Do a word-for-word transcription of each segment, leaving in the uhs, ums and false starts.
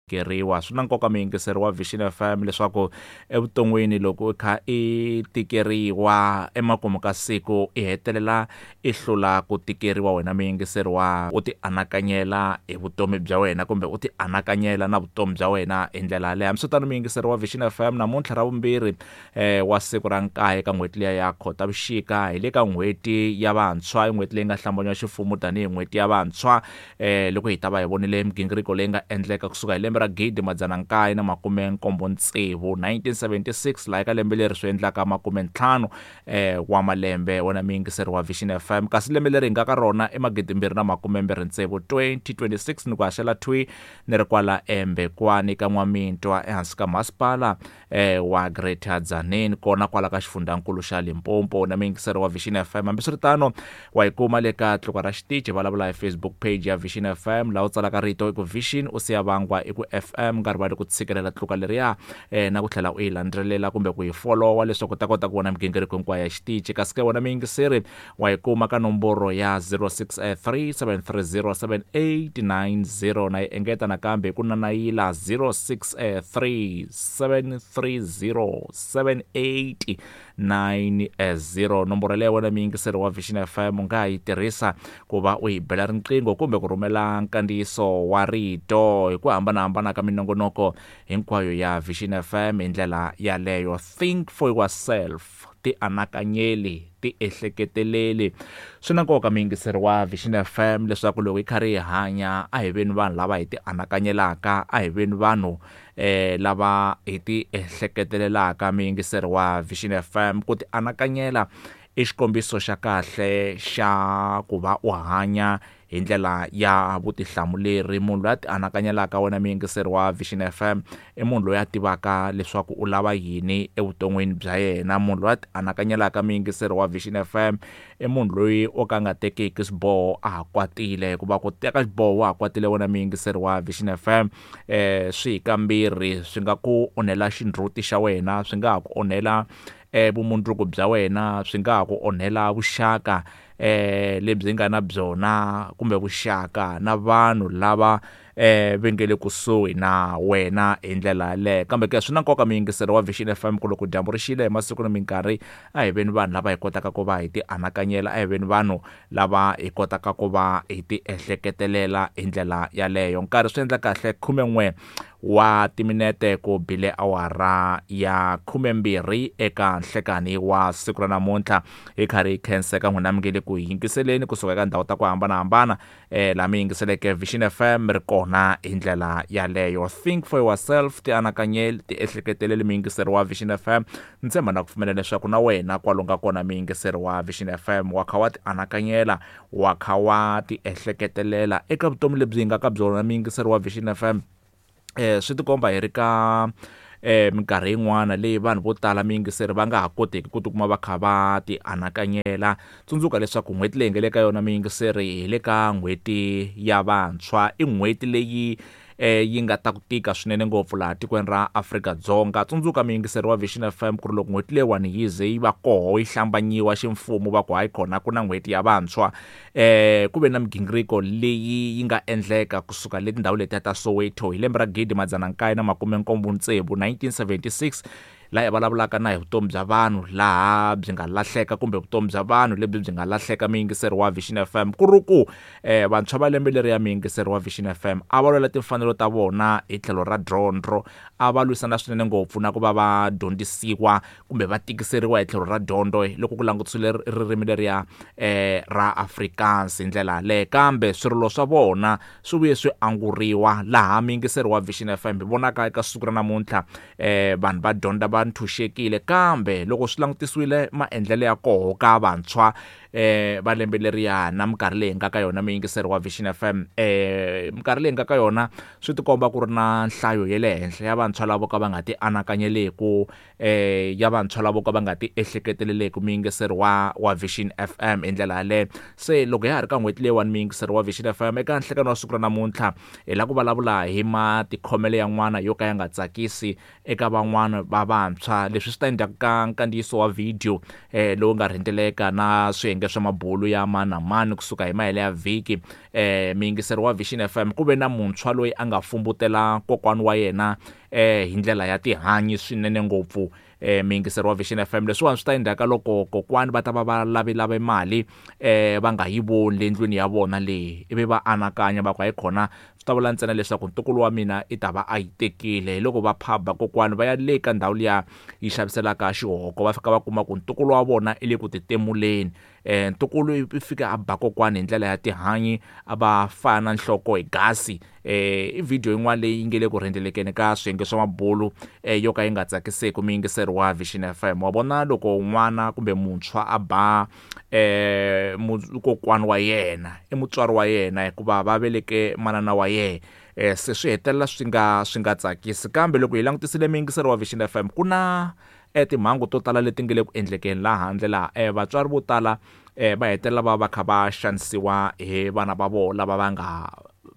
Tikeriwa swi na nkoka muyingiseri wa Vision F M leswaku evuton'wini loko u kha i tikeriwa emakumu ka siku i hetelela i hlula ku tikeriwa wena muyingiseri wa u ti anakanyela hi vutomi bya wena kumbe u ti anakanyela na vutomi bya wena hi ndlela yaleyo. Hambiswiritano muyingiseri wa Vision F M namuntlha ra vumbirhi eh, wa siku ra nkaye ka n'hweti liya ya Khotavuxika hi le ka n'hweti ya vantshwa, i n'hweti leyi nga hlambanywa ximfumo tanihi n'hweti ya vantshwa eh, loko hi ta va hi vonile migingiriko leyi nga endleka kusuka hi lembe ra gidi madzana nkaye na makume nkombo tsevu nineteen seventy-six laha eka lembe leri swi endlaka makume ntlhanu eh, wa malembe wena muyingiseri wa Vision F M. Kasi lembe leri hi nga ka rona i magidi mbirhi na makume mbirhi tsevu twenty twenty-six ni ku haxela thwi ni ri kwala eMbekwani ka N'wamintwa ehansi ka masipala eh, wa Greater Tzaneen kona kwala ka xifundzankulu xa Limpopo na muyingiseri wa Vision F M. Hambiswiritano wa yi kuma le ka tluka ra xitichi vulavula hi Facebook page ya Vision F M laha u tsalaka rito i ku Vision u siya vangwa i ku F M nkarhi wa ku tshikelela tluka leriya eh, na ku tlhela u yi landzelela kumbe ku yi followa leswaku u ta kota ku vona migingiriko hinkwayo ya xitichi. Kasi ke wena muyingiseri wa yi kuma ka nomboro ya zero six three seven three zero seven eight nine zero na yi engeta nakambe hi ku nanayila zero six three seven three zero seven eight nine zero. Nomboro leyi wena muyingiseri wa Vision F M u nga yi tirhisa ku va u yi bela riqingho kumbe ku rhumela nkandziyiso wa rito hi ku hambanahambana ka minongonoko hinkwayo ya Vision F M hi ndlela yaleyo. Think for yourself, ti anakanyeli, ti ehleketeleli. Swi na nkoka muyingiseri wa Vision F M leswaku loko hi karhi hi hanya a hi veni vanhu lava hi ti anakanyelaka, a hi veni vanhu eh, lava hi ti ehleketelelaka. Muyingiseri wa Vision F M, ku ti anakanyela i xikombiso xa kahle xa ku va u hanya hi ndlela ya vutihlamuleri. Munhu loyi a ti anakanyelaka wena muyingiseri wa Vision F M i munhu loyi a tivaka leswaku u lava yini evuton'wini bya yena. Munhu loyi a ti anakanyelaka muyingiseri wa Vision F M i munhu loyi o ka nga tekiki xiboho a ha kwatile, hikuva ku teka xiboho wa ha kwatile wena muyingiseri wa Vision F M eh, swi hi kambirhi, swi nga ku onhela xindzuti xa wena, swi nga ha ku onhela eh, vumundzuku bya wena, swi nga ha ku onhela vuxaka eh, lebyi nga na byona kumbe vuxaka na vanhu lava eh, va nge le kusuhi na wena hi ndlela yaleyo. Kambe ke swi na nkoka muyingiseri wa Vision F M ku loko dyambu ri xile hi masiku na minkarhi a hi veni vanhu lava hi kotaka ku va hi ti anakanyela, a hi veni vanhu lava hi kotaka ku va hi ti ehleketelela hi ndlela yaleyo. Nkarhi swi endla kahle khumen'we wa timinete ku bile awara ya khumembirhi eka nhlekani wa siku ra namuntlha. Hi karhi hi khenseka n'wina mi nge le ku yingiseleni kusuka eka ndhawu ta ku hambanahambana eh, laha mi yingiseleke Vision F M ri kona hi ndlela yaleyo. Think for yourself, ti anakanyeli, ti ehleketeleli muyingiseri wa Vision F M. Ni tshemba na ku pfumela leswaku na wena kwalo nga kona muyingiseri wa Vision F M wa kha wa ti anakanyela, wa kha wa ti ehleketelela eka vutomi lebyi hi nga ka byona muyingiseri wa Vision F M. Eh, swi tikomba hi ri ka eh, minkarhi yin'wana leyi vanhu vo tala muyingiseri va nga ha koteki ku tikuma va kha va ti anakanyela. Tsundzuka leswaku n'hweti leyi hi nga le ka yona muyingiseri hi le ka n'hweti ya vantshwa, i n'hweti leyi eh, yi nga ta ku tika swinene ngopfu laha tikweni ra Afrika-Dzonga. Tsundzuka muyingiseri wa Vision F M ku ri loko n'hweti leyiwani yi ze yi va koho yi hlambanyiwa ximfumo va ku hayi kona ku na n'hweti ya vantshwa, eh, ku ve na migingiriko leyi yi nga endleka kusuka le tindhawu letiya ta Soweto hi lembe ra gidi madzana nkaye na makume nkombo tsevu nineteen seventy-six, laha hi vulavulaka na hi vutomi bya vanhu laha byi nga lahleka kumbe vutomi bya vanhu lebyi byi nga lahleka muyingiseri wa Vision F M. Ku ri ku, eh, vantshwa va lembe leri ya muyingiseri wa Vision F M a va lwela timfanelo ta vona hi tlhelo ra dyondzo, a va lwisana swinene ngopfu na ku va va dyondzisiwa kumbe va tikiseriwa hi tlhelo ra dyondzo loko ku langutisiwile ririmi leriya, eh, ra Afrikaans hi ndlela yaleyo. Kambe swirilo swa vona swi vuye swi anguriwa laha muyingiseri wa Vision F M hi vonaka eka siku ra namuntlha, eh, vanhu va dyondza va ntshunxekile. Kambe loko swi langutisiwile maendlelo ya koho ka vantshwa eh, va lembe leriya na minkarhi leyi nga ka yona muyingiseri wa Vision F M, eh, minkarhi leyi nga ka yona swi tikomba ku ri na nhlayo ya le henhla ya vantshwa lavo ka va nga ti anakanyeleku, eh, ya vantshwa lavo ka va nga ti ehleketeleleku muyingiseri wa, wa Vision F M hi ndlela yaleyo. Se loko ya ha ri ka n'hweti leyiwani muyingiseri wa Vision F M eka nhlekani wa siku ra namuntlha hi lava ku vulavula hi matikhomelo yan'wana yo ka ya nga tsakisi eka van'wana va vantshwa. Leswi swi ta endzhaku ka nkandziyiso wa video, eh, lowu nga rhendzeleka na swiyenge swiyenge swa mabulu ya mani na mani kusuka hi mahele ya vhiki eh miyingiseri wa Vision F M ku ve na muntshwa loyi a nga fumbutela kokwani wa yena eh hi ndlela ya tihanyi swinene ngopfu eh miyingiseri wa Vision F M leswiwani swi ta endleka loko kokwani va ta va va lavelave mali eh va nga yi voni le ndlwini ya vona leyi ivi va anakanya va ku hayi khona swi ta vula ntsena leswaku ntukulu wa mina i ta va a yi tekile hi loko va phaba kokwani va ya le ka ndhawu liya yi xaviselaka xihoko va fika va kuma ku ntukulu wa vona i le ku titemuleni eh ntukulu i fika a ba kokwani hi ndlela ya tihanyi a va fana nhloko hi gasi eh i video yin'wana leyi nge le ku rhendzelekeni ka swiyenge swa mabulu eh yo ka yi nga tsakiseki miyingiseri wa Vision F M wa vona loko n'wana kumbe muntshwa a ba eh kokwani wa yena i mutswari wa yena hikuva va veleke manana wa yena eh se swi hetelela swi nga swi nga tsakisi kambe loko hi langutisile miyingiseri wa Vision F M ku na eh timhangu to tala leti nge le ku endlekeni laha handle laha eh vatswari vo tala eh va hetelela va va kha va xanisiwa hi vana va vona lava va nga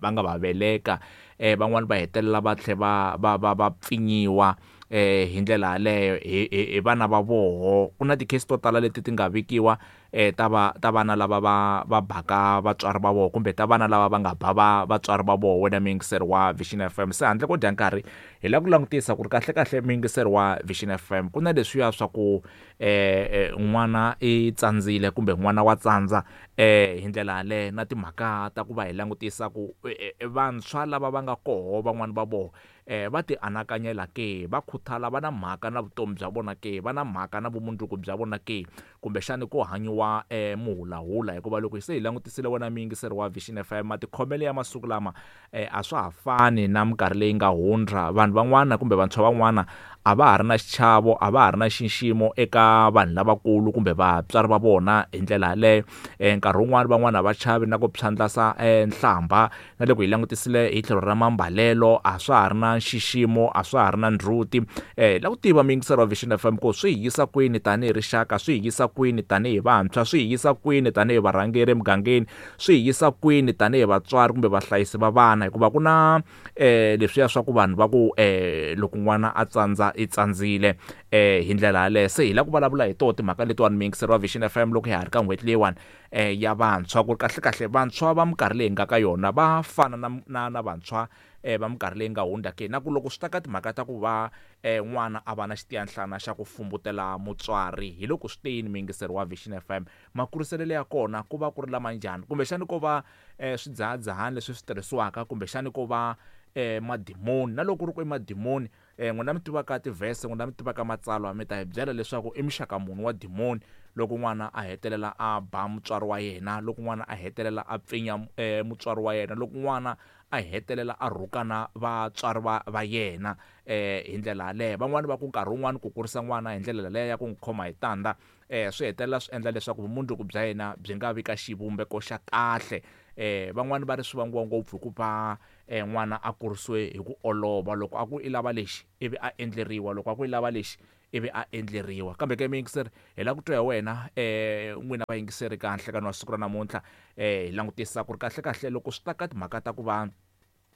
va nga va veleka eh van'wani va hetelela va tlhe va va va va pfinyiwa eh hi ndlela yaleyo hi hi vana va voho ku na ti-case to tala leti ti nga vikiwa eh ta va ta vana lava va va baka vatswari va vona kumbe ta vana lava va nga ba va vatswari va vona wena miyingiseri wa Vision F M se handle ko dya nkarhi hi lava ku langutisa ku ri kahle kahle miyingiseri wa Vision F M ku na leswiya swa ku eh n'wana i tsandzile kumbe n'wana wa tsandza eh hi ndlela yaleyo na timhaka ta ku va hi langutisa ku vantshwa lava va nga koho van'wani va vona eh va ti anakanyela ke va khuthala va na mhaka na vutomi bya vona ke va na mhaka na vumundzuku bya vona ke kumbexani ku hanyiwa eh muhulahula hikuva loko se hi langutisile wena miyingiseri wa Vision F M matikhomelo ya masiku lama eh a swa ha fani na minkarhi leyi nga hundza vanhu van'wana kumbe vantshwa van'wana a va ha ri na xichavo a va ha ri na xiximo eka vanhu lavakulu kumbe vatswari va vona hi ndlela yaleyo eh nkarhi wun'wani van'wana a va chavi na ku phyandlasa eh nhlamba na loko hi langutisile hi tlhelo ra mambalelo a swa ha ri na xiximo a swa ha ri na ndzhuti eh la ku tiva miyingiseri wa Vision F M ku swi hi yisa kwini tanihi rixaka swi hi yisa kwini tanihi vantshwa swi hi yisa kwini tanihi varhangeri emugangeni swi hi yisa kwini tanihi vatswari kumbe vahlayisi va vana hikuva ku na eh leswiya swa ku vanhu va ku eh loko n'wana a tsandza i tsandzile eh hi ndlela yaleyo se hi la ku vulavula hi toho timhaka letiwani miyingiseri wa Vision F M loko hi ha ri ka n'hweti leyiwani eh ya vantshwa ku ri kahle kahle vantshwa va minkarhi leyi nga ka yona va fana na na na vantshwa eh va minkarhi leyi nga hundza ke na ku loko swi ta ka timhaka ta ku va eh n'wana a va na xitiyanhlana xa ku fumbutela mutswari hi loko swi teyini miyingiseri wa Vision F M makuriselelo ya kona ku va ku ri lama njhani kumbexani ko va eh swidzahadzahani leswi swi tirhisiwaka kumbexani ko va eh madimoni na loko ku ri ku i madimoni eh n'wina mi tivaka tivhese n'wina mi tivaka matsalwa mi ta hi byela leswaku i muxaka muni wa dimoni loko n'wana a hetelela a ba mutswari wa yena loko n'wana a hetelela a pfinya eh, mutswari wa yena loko n'wana a hetelela a rhukana vatswari va va yena eh hi ndlela yaleyo van'wani va ku nkarhi wun'wani ku kurisa n'wana hi ndlela leyo ya ku n'wi khoma hi tandza eh swi hetelela swi endla leswaku vumundzuku bya yena byi nga vi ka xivumbeko xa kahle eh van'wani va ri swi vangiwa ngopfu hikuva eh n'wana a kurisiwe hi ku olova loko a ku i lava lexi ivi a endleriwa loko a ku i lava lexi ivi a endleriwa kambe ke miyingiseri hi lava ku twa hi wena eh n'wina vayingiseri ka nhlekani wa siku ra namuntlha eh hi langutisa ku ri kahle kahle loko swi ta ka timhaka ta ku va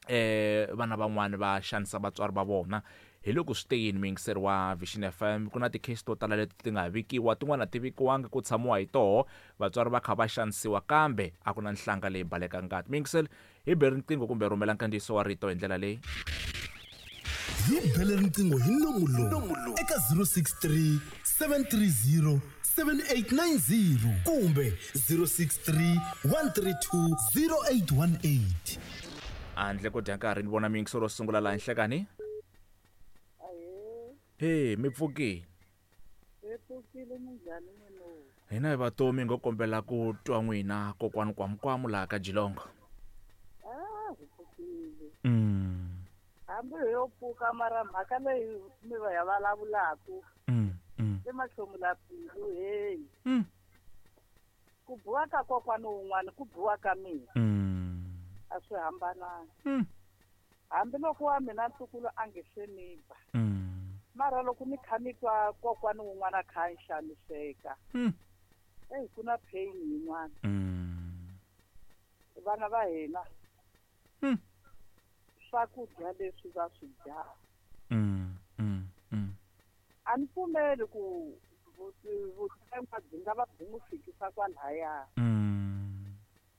eh vana van'wani va xanisa vatswari va vona hi loko swi te yini miyingiseri wa Vision F M ku na ti-case to tala leti ti nga vikiwa tin'wana ti vikiwangi ku tshamiwa hi toho vatswari va kha va xanisiwa kambe a ku na nhlanga leyi baleka ngati miyingiseri hi bele riqingho kumbe rhumela nkandziyiso wa rito hi ndlela leyi hi bele riqingho hi nomu lowu eka zero six three seven three zero seven eight nine zero kumbe zero six three one three two zero eight one eight handle ko dya nkarhi ni vona miyingiseri ro sungula laha nhlekani he mi pfukile hi pfukile minjhani n'wina hina hi vatomi ngo kombela ku twa n'wina kokwani kwamukwamu laha ka Jilongo ah hi pfukile mm hambi hi yo pfuka mara mhaka leyi mi va ya vulavulaku mm mm i mahlomula mbilu heyi mm ku biwa ka kokwana wun'wana ku biwa ka mina mm a swi hambananga mm hambiloko wa mina ntukulu a nge se ni ba mm mara loko ni kha ni twa kokwana wun'wana a kha a xaniseka mm eyi ku na pain yin'wana mm vana va hina mm swakudya leswi va swi dyaka mm mm mm a ni pfumeli ku Vutengwa byi nga va byi n'wi fikisa kwalaya. Mm.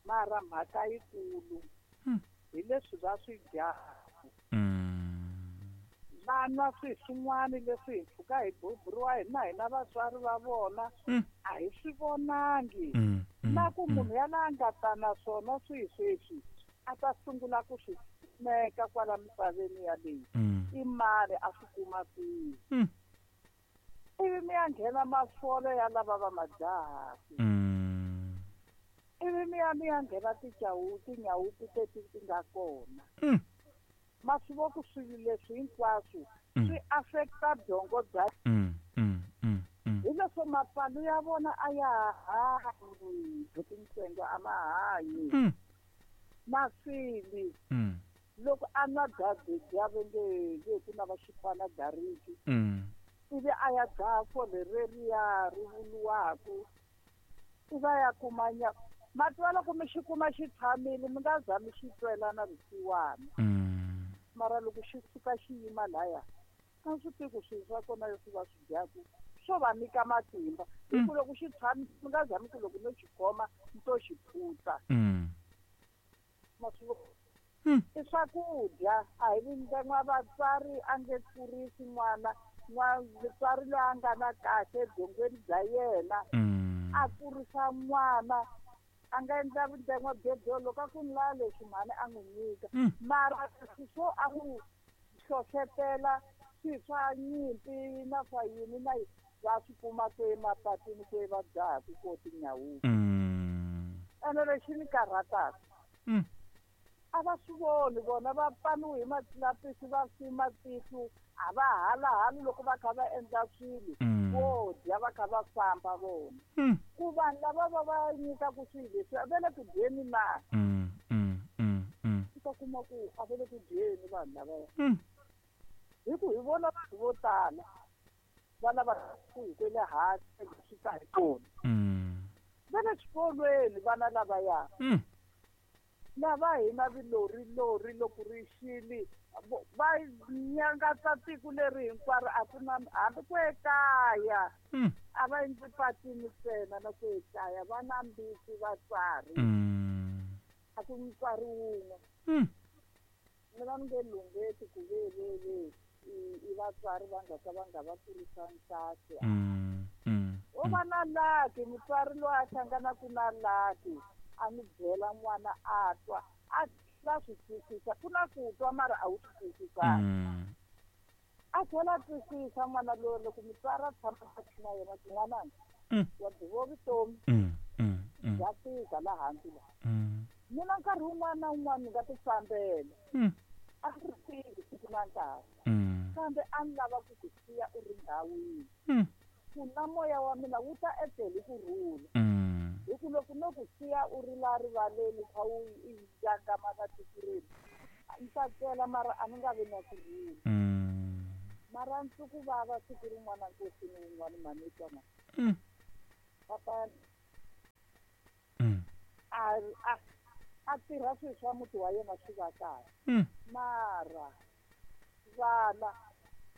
Mara mhaka yikulu hi leswi va swi dyaka. Mm. Va nwa swilo swin'wana leswi hi pfuka hi buburiwa hina hina vatswari va vona a hi swi vonangi. Mm. Na ku munhu ya la nga ta na swona swihi sweswi a ta sungula ku swi kumeka kwala misaveni yaleyi. I mali a swi kuma kwihi. Mm. Ivi mi ya nghena mafolo ya lava va majaha. Mm. Ivi mi ya mi ya nghena ticawu tinyawupi teti ti nga kona. Mm. Ma swi vo ku swilo leswi hinkwaswo Mm. swi affecta byongo bya Mm. Mm. Mm. Mm. hi leswo mapfalo ya vona a ya ha hanyi tintsengo a ma hanyi. Mm. Maswili Mm. loko a nwa dya va nge nge ku na va xipana dariki. Mm. Ivi a ya dzaha fole reriya ri vuriwaku i va ya kuma nya ma tiva loko mi xi kuma xi tshamile mi nga za mi xi twela na vusiwana. Mm. Mara loko xi suka xi yima laya a swi tivi ku swilo swa kona leswi va swi dyaku swo va nyika matimba. Hi ku loko xi tshamile mi nga za mi ku loko no xi khoma ni to xi phutsa. Mm. Ma swi vo Mm. i swakudya a hi vindengwa vatswari a nge kurisi n'wana n'wa mutswari loyi a nga na kahle ebyongweni bya yena. Mm. A kurisa n'wana a nga endla vundengwa byebyo loko a ku ni lava leswi mhani a n'wi nyika. Mm. Mara leswi swo a n'wi hlohlotela swilo swa nyimpi na swa yini na yini va swi kuma ku emapatwini ku va dzahaku ko tinyawupi. Mm. Ene lexi ni karhataka Mm. a va swi voni vona va paniwe hi matlapisi va fi matihlo a va halahali loko va kha va endla swilo Mm. vo dya va kha va famba vona. Mm. Ku vanhu lava va va nyikaku swilo leswi a va le ku dyeni na. Mm. Mm. Mm. Mm. U ta kuma ku a va le ku dyeni vanhu lavaya. Mm. Hi ku hi vona vanhu vo tala va lava ku hi kwele hansi swi ta hi kona. Mm. Va le xikolweni vana lavaya. Mm. Lava hina vilori lori loko ri xile va nyangatsa tiko leri hinkwaro a ku na hambi ku ekaya. Mm. A va endli patini ntsena na ku ekaya va na mbitsi vatswari. Mm. A ku mutswari wun'we. Mm. Ni va ni nge lungheti ku ve ve ve i, i vatswari va nga ka va nga va kurisangi kahle. Mm. Mm. O va na laki mutswari loyi a hlanganaku na laki a n'wi byela n'wana a twa a va swi twisisa ku na ku twa mara a wu swi twisisanga. Mm. A tlhela a twisisa n'wana loyi loko mutswari a tshama na yena ku n'wananga Mm. wa byi vo vutomi Mm. Mm. Mm. bya tika laha hansi laha. Mm. Mina nkarhi wun'wana na wun'wana ni nga ti fambela. Mm. A ndzi ri tivi siku na nkarhi. Mm. Kambe a ni lava ku ku siya u ri ndhawini. Mm. Ku na moya wa mina wu ta etlela hi ku rhula. Mm. Hi ku loko no ku siya u ri la rivaleni kha u i nyangama na tiko renu, ni ta tlela mara a ni nga vi na ku rhula. Mm. Mara ndzi ku vava siku rin'wana nkosini wun'wana mhani twa mhani. Mm. Papa Mm. a a a tirha swilo swa muti wa yena swi va kahle. Mm. Mara vana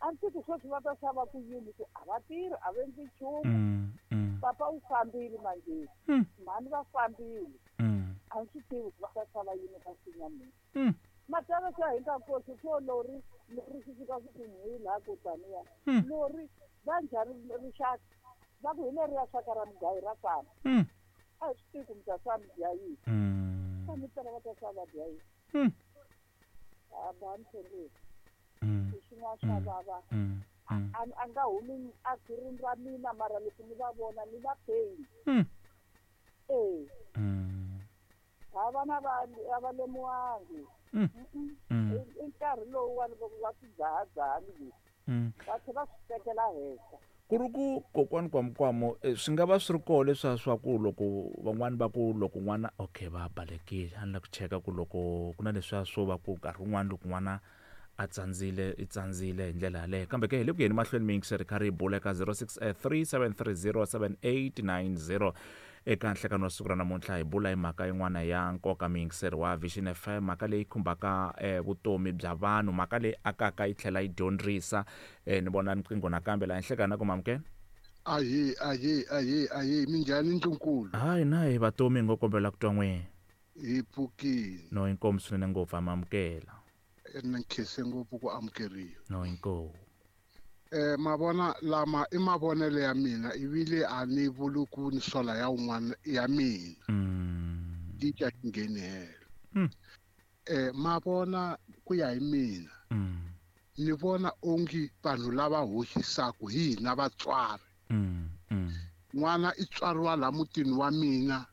a ndzi ku sweswi va ta xava ku yini ku a va tirhi a va endli nchumu. Mm. Mm. Papa u fambile manjhe. Mm. Mhani va fambile. Mm. A ndzi swi tivi ku va ta xava yini ka nsinya mina. Mm. Matala swa hi nga nkosi swo lori lori swi fika swi ku n'wi laha ko taniya. Mm. Lori va njhani rixaka va ku hi leriya xaka ra mugayo ra fana. Mm. A hi swi tivi ku mi ta swa mi dya yini. Mm. Ka mi tala va ta swa va dya yini. Mm. A ba ni tshembisi. Mm. Swin'wana swa vava. Mm. Mm. A a nga humi a khwirini ra mina mara loko ni va vona ni va pain. Mm. Eh. Mm. Ha vana va a va lemuwangi. Mm. Mm. Mm. I nkarhi lowu wa loko va swi dzahadzahani leswi. Mm. Va tlhela va swi tekela henhla. Ku ri ku kokwani Kwamkwamo swi nga va swi ri koho leswiya swa ku loko van'wani va ku loko n'wana okay va balekile a ni la ku cheka ku loko ku na leswiya swo va ku nkarhi wun'wani loko n'wana a tsandzile i tsandzile hi ndlela yaleyo kambe ke hi le ku yeni mahlweni mi yingiseri kha ri hi bula eka zero six three seven three zero seven eight nine zero eka nhlekano wa siku ra namuntlha hi bula hi mhaka yin'wana ya nkoka miyingiseri wa Vision F M mhaka leyi khumbaka eh, vutomi bya vanhu mhaka leyi akaka yi tlhela yi dyondzisa eh, ni vona riqingho nakambe laha nhlekani na ku mamukela. Ahe ahe ahe ahe minjhani ndlunkulu? Hayi na hi vatomi ngo kombela ku twa n'wina. Hi pfukile. No inkomu swinene ngopfu amamukela. Ni nkhense ngopfu ku amukeriwa. No inkomu. Eh mavona lama i mavonelo ya mina ivile a ni vuli ku ni sola ya un'wana ya mina. Mm. Titya ngheni helo. Mm. Eh mavona ku ya hi mina. Mm. Ni vona ongi vanhu lava hoxisaku hi hina vatswari. Mm. Mm. N'wana i tswariwa la mutini wa mina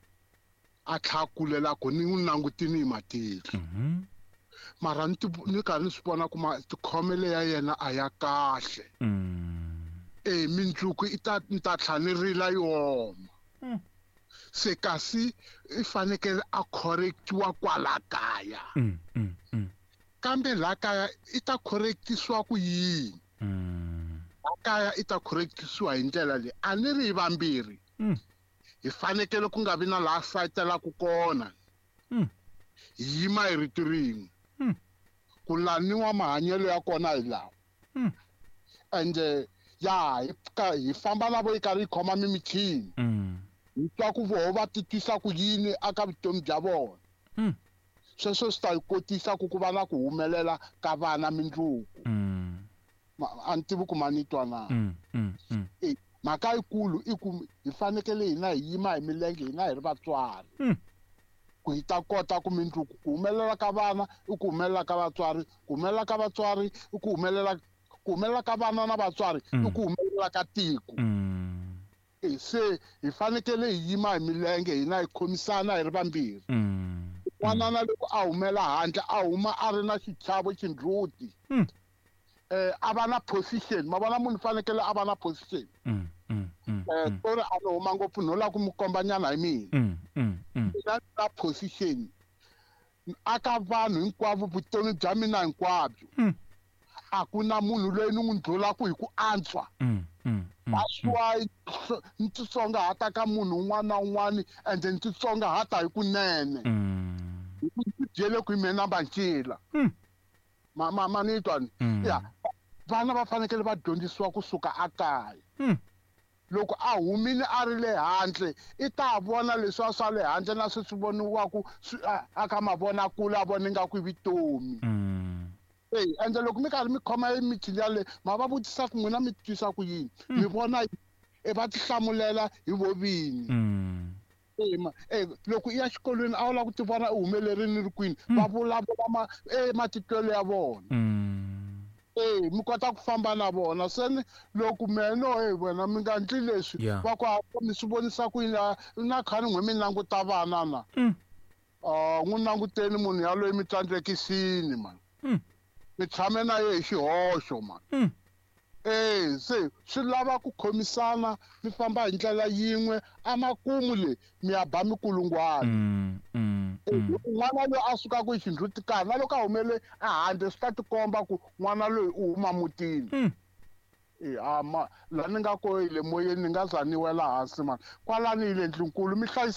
a tlha kulela ku ni n'wi langutini hi matihlo. Mhm. Mara ni ni karhi ni swi vona ku matikhomelo ya yena a ya kahle. Mm. Eh mindzuku i ta ni ta tlha ni rila yoma. Mm. Se kasi i fanekele a correctiwa kwala kaya. Mm, mm, mm. Kambe la kaya i ta correctisiwa ku yini? Mm. La kaya i ta correctisiwa hi ndlela leyi a ni ri hi vambirhi. Mm. Hi fanekele ku nga vi na laha sayitelaka kona. Mm. Hi yima hi rito rin'we. Mm. Ku laniwa mahanyelo ya kona hi lawa. Mm. Ende ya hi hi famba na vo yi karhi yi khoma mimichini. Mm. Hi twa ku voho va titwisa ku yini aka vutomi bya vona. Mm. Sweswo swi ta hi kotisa ku ku va na ku humelela ka vana mindzuku. Mm. A ni tivi ku ma ni twa na. Mm, mm, mm. E mhaka yikulu i ku hi fanekele hina hi yima hi milenge hina hi ri vatswari. Mm. Ku hi ta kota ku mindzuku ku humelela ka vana i ku humelela ka vatswari, ku humelela ka vatswari i ku humelela ku humelela ka vana na vatswari i ku humelela ka tiko. Mm. E se hi fanekele hi yima hi milenge hina hi khomisana hi ri vambirhi. Mm. N'wana na loko a humela handle a huma a ri na xichavo xindzhuti. Mm. Eh a va na position, ma vona munhu fanekele a va na position. Mm, mm, mm, Eh tori a no huma ngopfu no la ku mu kombanyana hi mina. Mm, mm, mm. Na na position aka vanhu hinkwavo vutomi bya mina hinkwabyo. Mm. A ku na munhu loyi ni n'wi ndlulaku hi ku antswa. Mm, mm, mm. That's why ni titsongahata ka munhu un'wana na un'wana ende ni titsongahata hi kunene. Mm. Hi ku ndzi byele ku hi mina mancila. Mm. Ma ma ma ni twa ni? Mm. Ya vana va fanekele va dyondzisiwa kusuka ekaya. Mm. Loko a humile a ri le handle i ta vona leswi swa le handle na swi swi voniwaku aka mavonakule a vona ingaku i vutomi. Mm. Eh ende loko mi karhi mi khoma emichini yaleyo ma va vutisa ku n'wina mi twisa ku yini, mi vona e va tihlamulela hi vo vini. Mm. Eh ma eh loko i ya xikolweni a wu lava ku ti vona u humelerini ri kwini va vulavula ma eh matitwelo ya vona. Mm. Eh mi kota ku famba na vona se ni loko meno eh wena mi nga ndli leswi Yeah. va ku a mi swi vonisa ku yini na khani n'we mi languta vana na. Mm. Ah n'wi languteni munhu yaloye mi tsandzekisini man. Mm. Mi tshame na ye hi xihoxo man. Mm. Eh se swi lava ku khomisana mi famba hi ndlela yin'we amakumu le mi ya ba mikulungwana. Mm, mm, mm. N'wana loyi a sukaka hi xindhuti karhi na loko a humele ehandle swi ta tikomba ku n'wana loyi u huma mutini. Mm. Eh a ma la ni nga ko hi le moyeni ni nga za ni wela hansi man kwalani hi le ndlunkulu mi hlayisa.